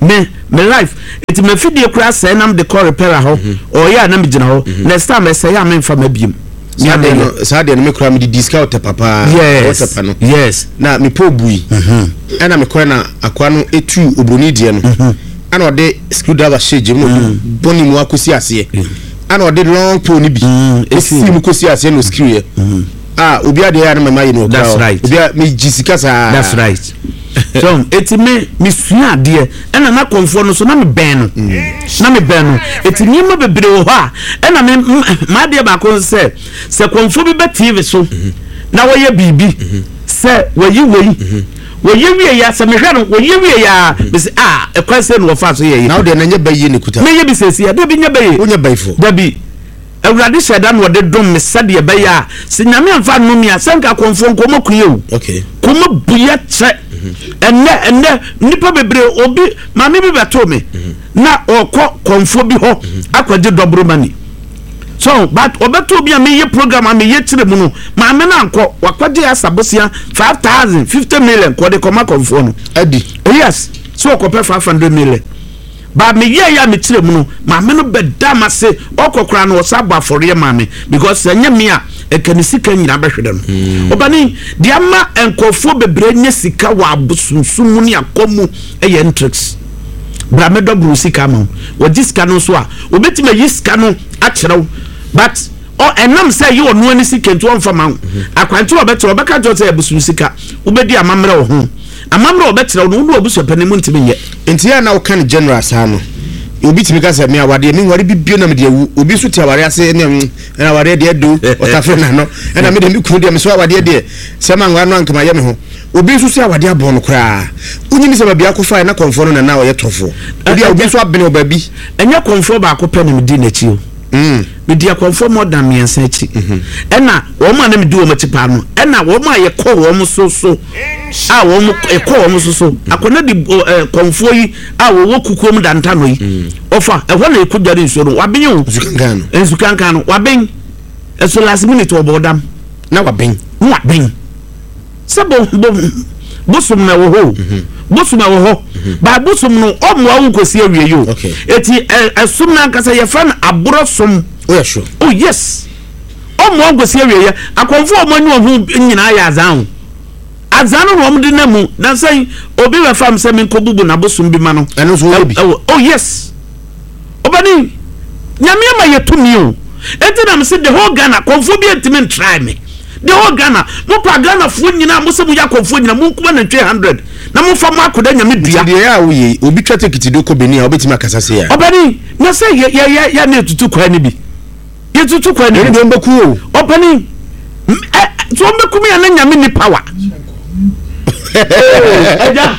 me me life eti mafidie koraa sɛe na mede kɔ repair hɔ ɔyɛ a na megyina hɔ next time ɛsɛe a memfa ma biem. Saa deɛ no saa deɛ no me koraa mede di sika ɔtɛpa paa. Yes ɔtɛpa no. Yes. Na mepɛ obui. Ɛna mekɔɛ na akoa no etu obroni deɛ no. Ɛna ɔde screw driver hyɛ gyem na ɔde bɔ ne mu akɔsi aseɛ. Ɛna ɔde long pole no bi esi mu kɔsi aseɛ na ɔscrew yɛ. Ah obi adeɛ yɛ a na mama yɛ no ɔkura. That's right. Obi a megye sika saa. That's right. So eti me mesua adeɛ ɛna na kɔnfoɔ no so na mebɛn no na mebɛn no eti nneɛma bebree wɔ hɔ a ɛna me m'adeɛ baako nso sɛ sɛ kɔnfoɔ bi bɛ TV so na wɔyɛ biribi sɛ wɔyi wei wɔyɛ wie ya sɛ mehwɛ no wɔyɛ wie ya mesi a ɛkwan sɛ na wɔfa so yɛ yɛ. Na wo deɛ na nyɛ bɛyie ne kuta. Meyɛ bi sɛsi a dabi nyɛ bɛyie. Wonyɛ bɛyifoɔ. Dabi. Awurade hyɛɛ da na ɔde dom me sɛdeɛ ɛbɛyɛ a sɛ Nyame amfa annome me a sɛ nka akɔmfoɔ nka wɔn akue o. Okay. Kɔm abu yɛ kyɛ. Ɛnnɛ ɛnnɛ nnipa bebree obi maame bi bɛtoo me na ɔkɔ kɔmfoɔ bi hɔ akɔgye dɔboro money. So but ɔbɛtoo obi a meyɛ program a meyɛ kyerɛ mu no maame no ankɔ wakɔgye asabosia 5000 50 million kɔde kɔma kɔmfoɔ no. Adi. Yes so ɔkɔpɛ 500 million. But me yɛɛ yɛ a me kyerɛ mu no maame no bɛ da m'ase ɔkɔ koraa no ɔsan bɔ afɔreɛ maa me because sɛ ɛnyɛ me a ɛka ne sika nyinaa bɛhwere no. Ɔbani deɛ ama nkurɔfoɔ bebree anya sika wɔ abosomsom mu ne akɔm mu yɛ ntricks. Bra mɛdɔ boro sika ama wo. Wɔgye sika no nso a wɔbɛtumi ayi sika no akyerɛ wo but ɔ ɛnam sɛ ɛyɛ ɔno ani sika nti ɔmfa ma wo. Akwankyerɛ a ɔbɛkyerɛ ɔbɛka kyerɛ wo sɛ abosom sika wobɛdi amammerɛ wɔ ho. Amammerɛ a wɔbɛkyerɛ wo no, wo ne w'abusuapanin mu ntumi nyɛ. Nti yɛ a na woka no general saa no, obi tumi ka sɛ me awadeɛ menware bi bio na mede awu, obi nso te awareɛ ase ɛne mm, ɛna awareɛ deɛ ɛdo, ɔtafere n'ano, ɛna me deɛ me kunu deɛ mesɔ awadeɛ deɛ sɛ manware no anka mayɛ me ho. Obi nso sɛ awadeɛ abɔn no koraa. Wonyini sɛ baabi akɔfaeɛ na kɔmfoɔ no na na ɔyɛ tɔfoɔ. Ebi a obi nso abene wɔ baabi. Ɛnyɛ kɔmfoɔ baako pɛ na medi n'akyi o. Medi akɔmfoɔ more than mmiɛnsa akyi. Ɛna wɔn a na medi wɔn akyi paa no, ɛna wɔn a yɛkɔ wɔn so so a wɔn ɛkɔ wɔn so so akɔnɔ di ɛɛ kɔnfoɔ yi a wɔwɔ kukuo mu danta no yi ɔfa ɛhɔ na ɛkɔ dware nsuo no waben o nsukankan no nsukankan no waben ɛso last minute ɔbɔ ɔdam na waben na waben sɛ bo bo bosom na ɛwɔ hɔ o mhm. bosom ɛwɔ hɔ mhm. ba bosom no ɔmmoa wo nkosi awie yi o eti ɛsom no ankasa yɛfrɛ no aborɔ som oh yes ɔmmoa nkosi awie yɛ akɔnfo a wɔn ani wɔn ho nyinaa yɛ azan o. Adza no na wɔde nam mu. Nansa yi, obi bɛfa me sɛ menkɔbubu n'abosom bi ma no. Ɛno nso wɔyɛ bi. Ɛwɔ, oh yes. Ɔbani, Nyame ama yɛ tumi o. Enti na mese the whole Ghana, kɔmfoɔ bi ntumi ntry me. The whole Ghana, mo pa Ghanafoɔ nyinaa, mo sɛ mo yɛ akɔmfoɔ nyinaa, mo nkuma nantwie 100 na mo fa mo akoda Nyame dua. Nti deɛ ɛyɛ a woyɛ yi, obi twa tekiti de kɔ Benin a, wobɛtumi akasa sei a? Ɔbani, na sɛ yɛ yɛ yɛ yɛ na yɛtutu kwan no bi. Yɛtutu kwan no bi. Ɛno deɛ wɔbɛku o. Ɔpanin, ɛ so wɔbɛku me a na nyame ni power. Ɛgya,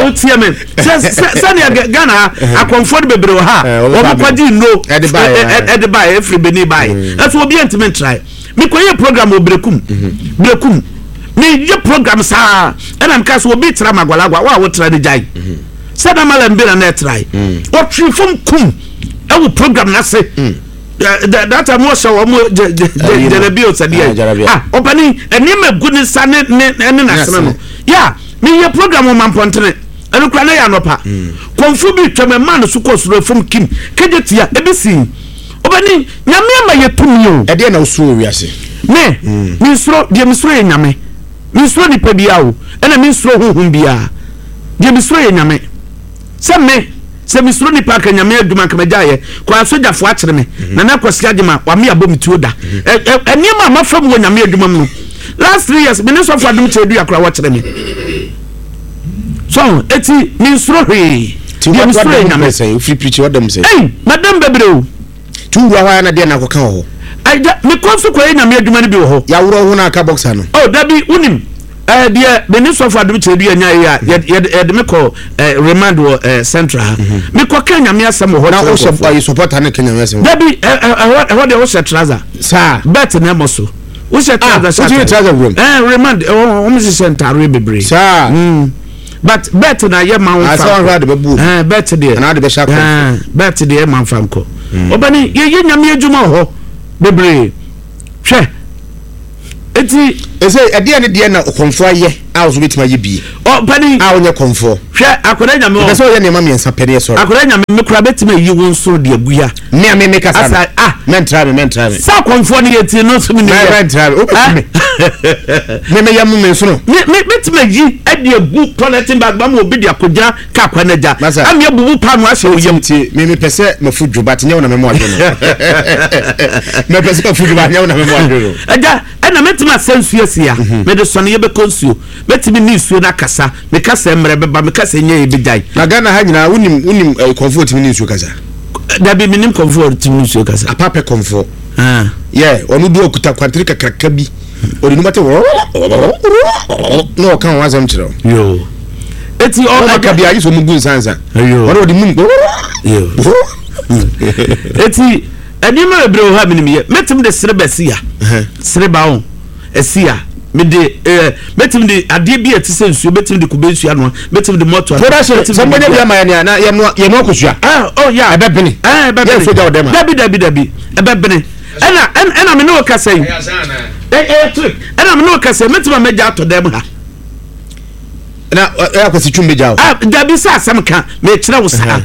wotie me sɛdeɛ Ghana ha akɔmfoɔ no bebree wɔ ha wɔn kɔgye nnuro ɛde baeɛ ɛfiri Benin baeɛ ɛso obi antumi ntrae. Mekɔyɛ program wɔ Berekum Berekum meyɛ program saa ɛna meka sɛ obi tra Magwalagwa wo a wotra no gyae sɛ na malam bi na na ɛtrae ɔtwe fam kum ɛwɔ program n'ase mm. that time wɔhyɛ wɔn jalabi osɛdeɛ ah ɔpɛni nneɛma egu ne nsa ne ne ne n'asene no ya meyɛ program wɔ mampɔntene ɛno kura ne yɛ anɔpa mm. kɔnfo bi twɛm ɛma no so kɔ soro fam kim kegye tia ebi si ɔpɛni nyame ama yɛ tumi o. Ɛdeɛ na wosuro wɔ wiase. Me mm. me nsuro deɛ me suro yɛ nyame me nsuro nipa biara o ɛna me nsuro huhum biara deɛ me suro yɛ nyame. Sɛ me, sɛ me suro nipa anka nyame adwuma anka magya yɛ. Kɔ asogyafoɔ akyere me. Mhm. Nana Kwasi Agyema wame abɔ me tuo da. Mhm. Ɛ ɛ nneɛma a mafa mu wɔ nyame adwuma mu no. Last 3 years me ne sɔfo adom kyerɛ dua koraa wɔkyere me. So eti me nsuro hwee. Deɛ me suro yɛ nyame. Ofiri pirikyi ɔdɛm sɛ. Ei, madam bebree o. Ti wura hɔ a na deɛ na akɔka wɔ hɔ. Agya, mekɔ nso kɔyɛ nyame adwuma no bi wɔ hɔ. Yɛaworɔ ho na aka boxer no. Oh, dabi, wonim, eh, deɛ me ne sɔfo adom kyerɛ dua nya yi a, yɛde me kɔ eh, remand wɔ eh, central ha. Mhm. Mekɔ ka nyame asɛm wɔ hɔ. Na wohyɛ ayi supporter ne ka nyame asɛm. Dabi, ɛhɔ ɛhɔ deɛ wohyɛ trouser. Saa. Bet na ɛmɔ so. Wohyɛ ah, trouser hyɛ. Wohyɛ trouser wuram. Eh, remand, ɛhɔ wɔn hyehyɛ ntaareɛ bebree. Saa. Mm. But bet na yɛ ma wo fa. Asɛ wɔn ade bɛ bu. Ɛɛ bet deɛ. Anaa ade bɛ hyɛ akɔ. Ɛɛ bet deɛ ma nfa nkɔ. Ɔbɛni yɛ yɛ nyame adwuma wɔ hɔ bebree hwɛ eti. Ɛsɛ ɛdeɛ ne deɛ na ɔkɔmfoɔ ayɛ a ɔso bɛtumi ayɛ bie. Ɔbɛni. A ɔnyɛ kɔmfoɔ. Hwɛ akwadaa nyame wɔ. Ɛsɛ sɛ ɔyɛ nneɛma mmiɛnsa pɛ ne yɛ sɔrɔ. Akwadaa nyame me kura bɛtumi ayi wo nso de agu ya. Me a me me kasa no. Asa ah. Mɛntra me mɛntra me. Sɛ akɔmfoɔ no yɛ ti no so mi ni yɛ. Mɛntra me wobɛku me. Me me yɛ mo me nsono. Me me bɛtumi ayi ɛde agu toilet bag ba ma obi de akɔgyina kaa kwan no agya. Masa. Ami abubu paano ahyɛ wo yam. Tie me me pɛ sɛ mafu dwo but nyɛ wo na me mo adwo no. Me pɛ sɛ mafu dwo but nyɛ wo na me mo adwo no. Agya ɛna mɛtumi asɛ nsuo asi ha. Mede sɔne yɛbɛkɔ nsuo. Mɛtumi ne nsuo no akasa. Meka sɛ mmerɛ bɛba, meka sɛ nyɛ yɛbɛgyae. Na Ghana ha nyinaa wonim wonim eh, kɔmfoɔ tumi ne nsuo kasa? Dabi, menim kɔmfoɔ tumi ne nsuo kasa. Apa pɛ kɔmfoɔ. Ah. Yeah, ɔno du ɔkuta kwantene kakraka bi. Ɔde numa te na ɔka ho asɛm kyerɛ wo. Yo. Eti ɔ ɔka bi agye sɛ ɔmo gu nsansa. Yo. Ɔno ɔde mum. Yo. Eti nneɛma bebree wɔ hɔ a menim yɛ. Mɛtumi de sereba si ya. Sereba o. Ɛsi a, mede ɛɛ mɛtumi de adeɛ bi a ɛte sɛ nsuo mɛtumi de kube nsuo anoa mɛtumi de mɔto anoa. Production sɛ mbɛnya bi ama yɛ nea na yɛnoa yɛnoa kosua. Ah oh ya. Ɛbɛbene. Ɛɛ ɛbɛbene. Yɛn nso gya wɔ dɛm a. Dabi dabi dabi ɛbɛbene ɛna ɛna me ne wo kasa yi. Ɛyɛ trick ɛna me ne wo kasa yi mɛtumi a mɛgya atɔ dɛm ha. Na ɛyɛ akwasi twum bɛgya o. Ah dabi sɛ asɛm ka mɛkyerɛ wo saa.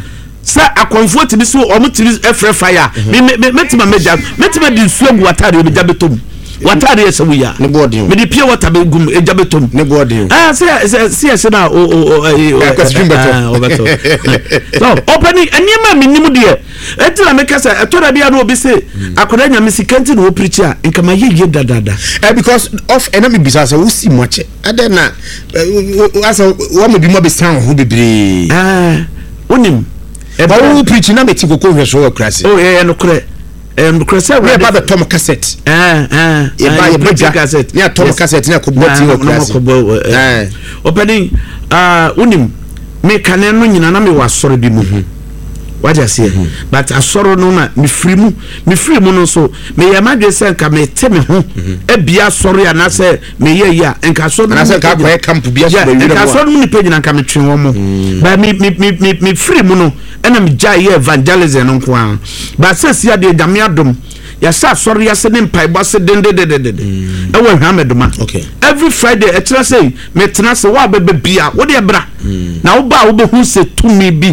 Sɛ akɔmfoɔ tumi so wɔn tumi frɛ fire a me me me mɛtumi amɛgya mɛtumi adi nsuo agu w'ataadeɛ mu gya bɛtɔ mu w'ataadeɛ sɛ woyi a ne bɔ ɔden mede pure water bɛ gu mu egya bɛtɔ mu ne bɔ ɔden ah sɛ sɛ sɛ yɛsɛ na o o o ɛyi o ɛkwasi bɛtɔ ɔbɛtɔ so ɔpɛni nneɛma mi nim deɛ eti na meka sɛ ɛtɔ da bi a na obi se akwadaa nyame sika nti na ɔpirikyi a nka ma yɛ yie dadaada. Ɛ because of ɛna mi bisa sɛ wosi mu akyɛ. Adɛn na asɛ wɔma bi mu abɛsan wo ho bebree. Wonim. Ba wo preach na mete koko nhwɛ so wɔ akurase. Oh, ɛyɛ nokorɛ. Ɛyɛ nokorɛ sɛ awurade. Yɛba bɛtɔ mo cassette. Yɛba yɛba dwa ne atɔ mo cassette ne akɔbɔ ti wɔ akurase. Ɔpɛni, wonim, me kane no nyina na mewɔ asɔre bi mu. Wagye aseɛ. But asɔre no na mefiri mu. Mefiri mu no nso, meyɛ m'adwene sɛ nka mete me ho abia asɔre anaasɛ meyɛ yi a nka asɔre no anaasɛ nka akɔyɛ camp bi asɔ baabi nka asɔre no mu nipa nyina nka metwe wɔn mo mm. ba me me me me me firi mu no ɛna me gya yɛ evangelism no nko ara ba sɛ si adeɛ nyame adom yɛahyɛ asɔre ase ne mpaebɔ ase dendendendende mm. ɛwɔ hwamedoma every friday ɛkyerɛ sɛ metena ase wo a bɛbɛ bia wo deɛ bra mm. na wo ba a wobɛhu sɛ tumi bi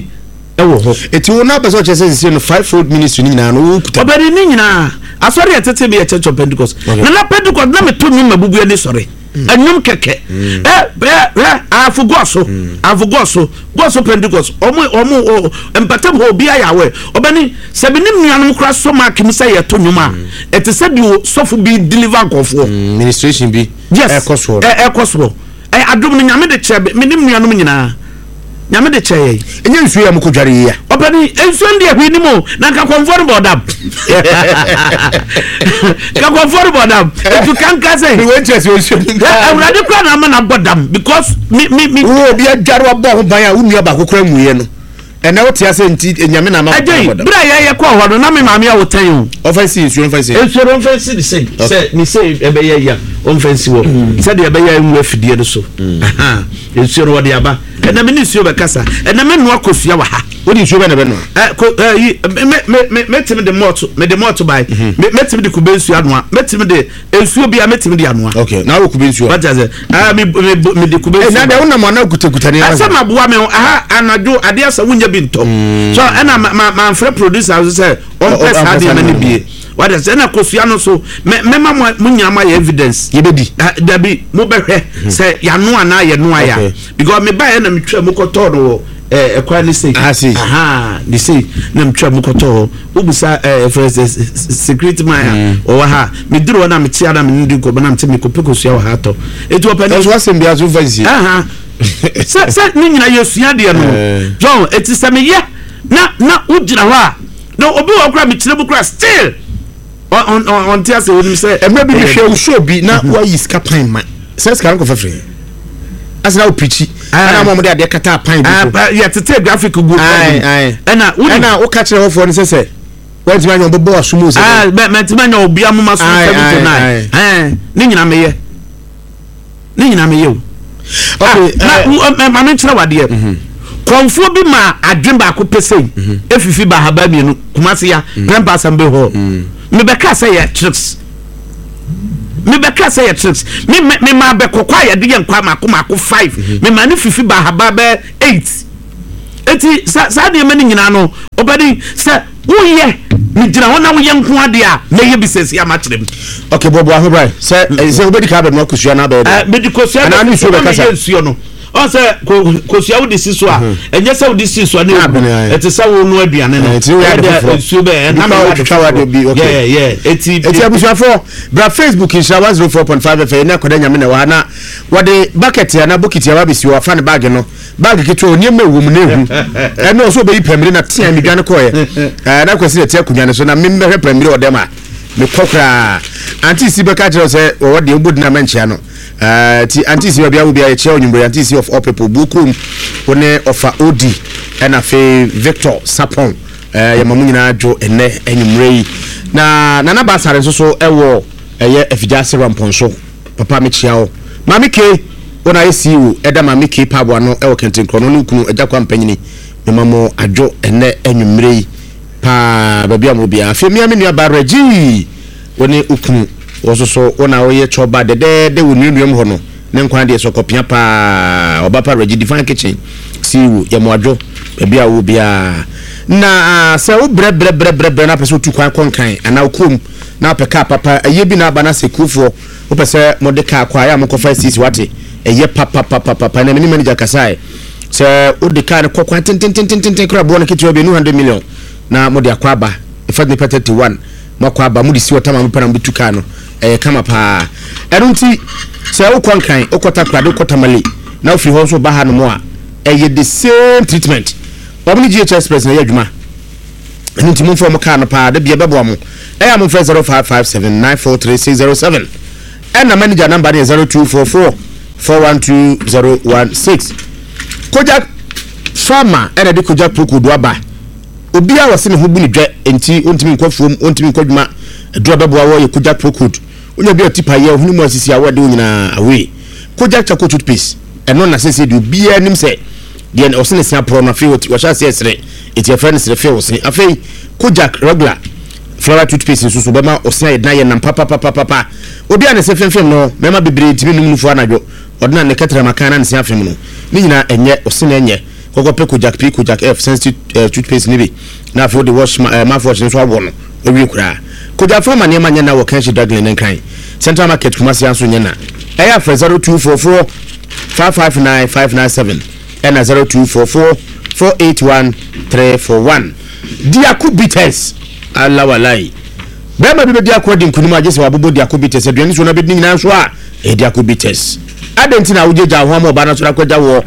Ɛwɔ hɔ. Eti wo na wopɛ sɛ ɔkyerɛ sɛ sese no five fold ministry ne nyinaa no wo kuta. Ɔbɛde ne nyinaa. Asɔre a ɛtete bi yɛ Church of Pentecost. Okay. Na na Pentecost na meto nnwom ma bubu ani sɔre. Nnwom kɛkɛ. Ɛ ɛ ɛ ahafo gɔɔ so. Ahafo gɔɔ so. Gɔɔ so Pentecost. Ɔmo ɔmo o mpatam hɔ obi ayɛ awɛ. Ɔbɛne sɛ me ne nuanom koraa sɔ mark mu sɛ yɛto nnwom a ɛte sɛ deɛ sɔfo bi deliver nkurɔfoɔ. Ministration bi. Yes. Ɛkɔ soɔ. Ɛkɔ soɔ. Ɛ adom no Nyame de kyɛ me ne me nuanom nyinaa. Nyame de kyɛ yɛn. Ɛnyɛ nsuo yi a mokɔ dware yi a. Ɔpɛni nsuo no deɛ hwee nim o na nka kɔnfoɔ no bɔ dam. Nka kɔnfoɔ no bɔ dam. Etu kanka sɛ. Mi wɔ interest wɔ nsuo mu. Awurade kura na ama na bɔ dam because mi mi mi. Wo obi adware wabɔ ho ban a wo nua baako kura nwuiɛ no. Ɛnɛ wote ase nti Nyame na ama Ɛgye yi, bere a yɛyɛ kɔɔ hɔ no, na me maame awo tɛn o. Ɔfa nsi nsuo nfa nsi. Nsuo no ɔmfa nsi ne sei, sɛ ne sei ɛbɛyɛ yi a, ɔmfa nsi hɔ. Mm. Sɛdeɛ ɛbɛyɛ ngu afidie no so. Mm. Nsuo no wɔde aba. Ɛnɛ me ne nsuo bɛkasa. Ɛnɛ me noa kosua wɔ ha. Wode nsuo bɛ na bɛnoa? Ɛ ko ɛ yi me me me mɛtumi de mɔɔto me de mɔɔto bae. Mhm. Me mɛtumi de kube nsuo anoa. Mɛtumi de nsuo bia mɛtumi de anoa. Okay, na wɔ kube nsuo. Wate ase? Ah, me me me de kube nsuo. Na deɛ wonam ana kutakuta ne ara. Ɛsɛ ma boa me ho aha anadwo adeɛ asa wonya bi ntɔ. Mm. So ɛna ma ma ma nfrɛ producer so sɛ ɔmpɛ saa deɛ ma ne bie. Wate ase? Ɛna kosua no so mɛ mɛma mo mo nyinaa ma yɛ evidence. Yɛbɛdi. Dabi mo bɛhwɛ hmm. sɛ yano anaa yɛnoa ya. Because me ba yɛ na metwa mu kɔtɔɔ no wɔ ɛkwan ne sei. Aha ne sei na metwa mu kɔtɔɔ hɔ. Wobisa ɛɛ fɛ sɛ security man a mm. ɔwɔ ha meduru hɔ na mekyia na mene di nkɔmmɔ na mete mekɔpɛ kosua wɔ ha atɔ ɛti ɔpɛ ne ɛso asɛm biara so mfa nsie sɛ sɛ ne nyina yɛsua deɛ no eh. John ɛti sɛ meyɛ na na wogyina hɔ a na obi wɔ kora mekyerɛ mu kora still ɔnte ase onim sɛ ɛmmerɛ bi mehwɛ wo show bi na mhm. woayi sika pan ma sɛ sika no kɔfɛ firi asɛ na wopirikyi ɛna ma ɔmode adeɛ kata pan bi so yɛtete graphic gu ɛna ɛna woka kyerɛ hɔfoɔ no sɛ sɛ woantumi anyɛ ɔbɛbɔ aso mu sɛ mantumi anyɛ obi amoma so 7 to 9 ne nyina meyɛ ne nyinaa meyɛ o ah, na maame nkyerɛ wadeɛ mhm. kɔnfoɔ bi ma adwen baako pɛ sei mhm. efifi ba ahaba mmienu kumase ya mhm. prɛmpa assembly hall mebɛka sɛ yɛ tricks mebɛka sɛ yɛ tricks me me ma bɛkɔkɔ a yɛde yɛ nkwa mako mako five me ma ne fifi ba ahaba bɛ eight eti sa saa nneɛma no nyinaa no ɔbɛni sɛ woyɛ megyina hɔ na woyɛ nko adeɛ a mɛyɛ bi sɛsi ama kyerɛ mu. ok bɔbɔ aho bra sɛ eh, sɛ wobɛdi ka abɛnoa kosua no abɛyɛ dɛ mede kosua anaa ne nsuo bɛkasa nsuo no. Ɔn sɛ kosua wode si so a, ɛnyɛ sɛ wode si so a na ewu. Ɛte sɛ wo no aduane no. Ɛti wo yɛ ade foforɔ. Nsuo bɛ ɛna mi ade foforɔ. Yeah yeah. Eti eti abusuafoɔ bra Facebook nhyira 104.5 FM ne akɔda nyame na ɛwɔ ha na wɔde bucket anaa bokiti aba abɛsi hɔ afa ne baage no baage ketewa nneɛma ɛwɔ mu na ehu ɛno ɔsɛ ɔbɛyi pɛmire na tea mi dwane kɔɛ ɛɛ na kwasi na ɛte akonnwa no so na memmɛhwɛ pɛmire ɔdɛm a mekɔ koraa ante si bɛka kyerɛ sɛ wɔwɔ deɛ wobɔ dina mɛnkyea no ɛɛ ti ante si baabi a wo bia yɛkyerɛ ɔnwummere ante si of all people buo kurom wo ne ɔfa odi ɛna afei Victor Sapon ɛɛ yɛma mo nyinaa dwo ɛnɛ anwummere yi na Nana Basare nso so ɛwɔ ɛyɛ afigya ase rampɔnso. Papa mekyea wo. Maame K, wo na ayɛ CEO ɛda Maame K pub ano ɛwɔ Kɛntenkorɔ no ne wo kunu Agya Kwame Panyini. Mema mo adwo ɛnnɛ anwummere yi paa baabi a mowɔ biara. Afei mea me nua baa Reggie, wo ne wo kunu, wo nso so wo na woyɛ chɔba dɛdɛɛdɛ wɔ nnuanuam hɔ no. Ne nkwa deɛ sɛ ɔkɔpia paa. Ɔba pa Reggie Divine Kitchen CEO, yɛ mo adwo baabi a wowɔ biara. Na sɛ wo brɛ brɛ brɛ brɛ brɛ na apɛ sɛ wotu kwan kɔ Nkran anaa wo kurom na wopɛ kaa papa, ɛyɛ bi na aba na sɛ kurofoɔ Wopɛ sɛ mode kaa kɔ a, ɛyɛ a monkɔfa asiesie wate. Ɛyɛ papapapapa. Ɛnna me ne manager kasae sɛ wode kaa no kɔ kwan tententententen koraa boɔ no ketewa bi ɛnu 100 million na mode akɔ aba. In fact nipa 31 moakɔ aba mode si hɔ tam a mopɛ na mobɛtu kaa no. Ɛyɛ kama paa. Ɛno nti sɛ wokɔ Nkran, wokɔ Takoradi, wokɔ Tamale na wofiri hɔ nso ba hanom a, ɛyɛ the same treatment. Wɔn ne GH Express na ɛyɛ adwuma. Ɛno nti momfa wɔn kaa no paa, da bia ɛbɛboa mo. Ɛyɛ a momfrɛ 0557 943 607. Ɛna manager number no yɛ 0244 412 016. Kojak Pharma ɛna de Kojak Procold aba. Obiara wɔse ne ho bu ne dwɛ nti ontumi nkɔ afuom, ontumi nkɔ adwuma. Aduru a ɛbɛboa wɔ yɛ Kojak Procold. Wonya bi a tipa yɛ, ohene mu asisi a wɔde wo nyinaa away. Kojak Charcoal Toothpaste, ɛno na sɛsɛ deɛ obiara nim sɛ deɛ ɔse ne se aporɔ no afei wɔhyɛ aseɛ sere. Enti yɛfrɛ no serefee ose. Afei Kojak regular flower toothpaste nso so bɛma ose ayɛ den ayɛ nam papapapapa. Obi a ne se femfem no, mmarima bebree ntumi nnom nufu anadwo. Ɔde na ne kɛtrɛma kan na ne se afem no. Ne nyinaa ɛnyɛ, ose na ɛnyɛ. Kɔkɔ pɛ Kojak P, Kojak F sensitive eh, toothpaste no bi na afei wode wash ma, eh, mouthwash no nso awɔ no. Wawie koraa. Kojak Pharma nneɛma nyɛ na wɔ Kanshi Draglin ne Nkran. Central Market Kumasi nso nyɛ na. Ɛyɛ afrɛ 0244 559 597. ɛna 0244 481 341. Diako Bitters ala walai. Bɛrima bi bɛdi ako adi nkunim a gye sɛ wabobɔ Diako Bitters aduane so na bɛdi ne nyinaa nso a ɛyɛ Diako Bitters. Adɛn nti na wogyagya wo ho ama ɔbaa no asɔre akɔgya woɔ?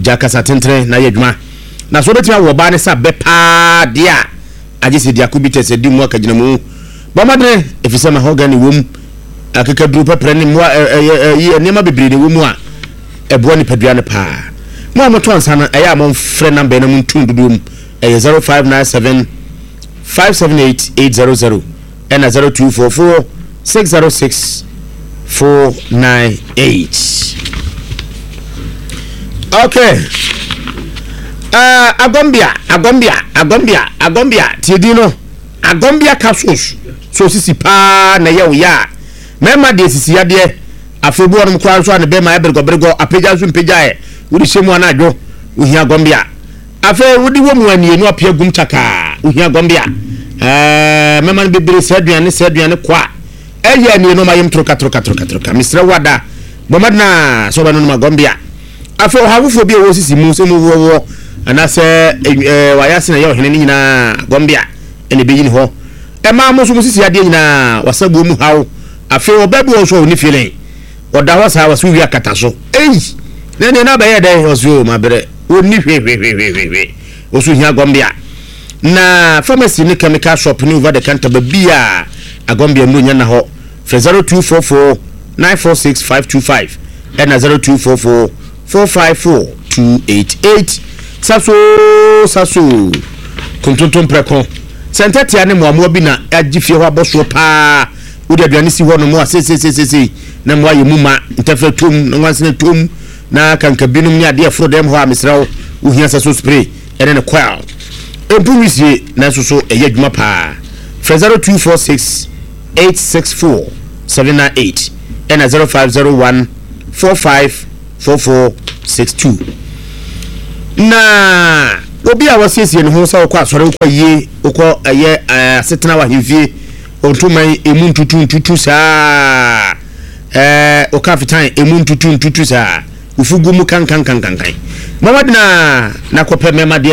Gya kasa tentene na yɛ adwuma. Na so wobɛtumi awɔ ɔbaa no sa bɛ paa deɛ a agye sɛ Diako Bitters adi mu akagyinamu. Bɔ mmɔdene ɛfiri sɛ mahogany wom, akekaduro pɛprɛ ne mmoa ɛyɛ nneɛma bebree na ɛwɔ mu a ɛboa nipadua no paa. Mo a motɔ nsa no, ɛyɛ a momfrɛ namba yi na montu no dodoɔ mu. Ɛyɛ 0597 578 800 ɛna 0244 606 498. Okay. Uh, Agombia, Agombia, Agombia, Agombia, tie din no. Agombia capsules so sisi paa na ɛyɛ wo ya a. Mmarima deɛ sisi yadeɛ. Afei obi wɔ nom koraa nso a ne bɛrima ayɛ beregɔberegɔ, apagya nso mpagyaeɛ. Wode hyɛ mu anadwo, wohia gɔmbea. Afei wode wɔ mu anie no apia gum kyakaa, wohia gɔmbea. Ɛɛ mɛma no bebree saa aduane saa aduane kwa a ɛyɛ anie no ɔma yam toroka toroka toroka toroka. Mesrɛ wo ada, bɔ mmɔden a sɛ wobɛnonom agɔmbea. Afei ɔhaw foforɔ bi a ɛwɔ sisi mu sɛ mu wɔwɔ anaasɛ ɛɛ wayɛ ase na ɛyɛ ɔhene no nyinaa gɔmbea ɛna ɛbɛyi ne hɔ. Ɛmaa mo nso mo sisi adeɛ nyinaa wasabuo mu haw. Afei ɔbaa bi wɔ hɔ nso a ɔnni feeling. Ɔda hɔ saa, ɔse wowie akata so. Ei! Na ɛneɛ na abɛyɛ dɛn? Ɔse o mabrɛ. Ɔnni hwehwehwehwehwe. Ɔso hia agɔmbea. Na pharmacy ne chemical shop ne over the counter baabi a agɔmbea nnuro nyɛ nna hɔ. Frɛ 0244 946 525 ɛna 0244 454 288. Saso saso kontonto mprɛko. Sɛ ntɛtea ne mmoamoa bi na agye fie hɔ abɔ soɔ paa. Wode aduane si hɔ nom a seiseiseisei na mmoa yɛ mu ma, ntɛfrɛ tom na nwansena tom na kankabinom ne adeɛ ɛforo dɛm hɔ a mesrɛ wo wohia sɛ so spray ɛne ne coil. Ɛmpu nwisie nanso so ɛyɛ adwuma paa. Frɛ 0246 864 798 ɛna 0501 45 4462. Na obi a wasiesie ne ho sɛ wokɔ asɔre wokɔ ayie wokɔ ɛyɛ asetena wɔ ahemfie Ɔntoma yi emu ntutu ntutu saa. Ɛɛ ɔka fitan emu ntutu ntutu saa. Wo fugu mu kankankankankan. Bɔ mmɔden ara na kɔpɛ mmarima deɛ.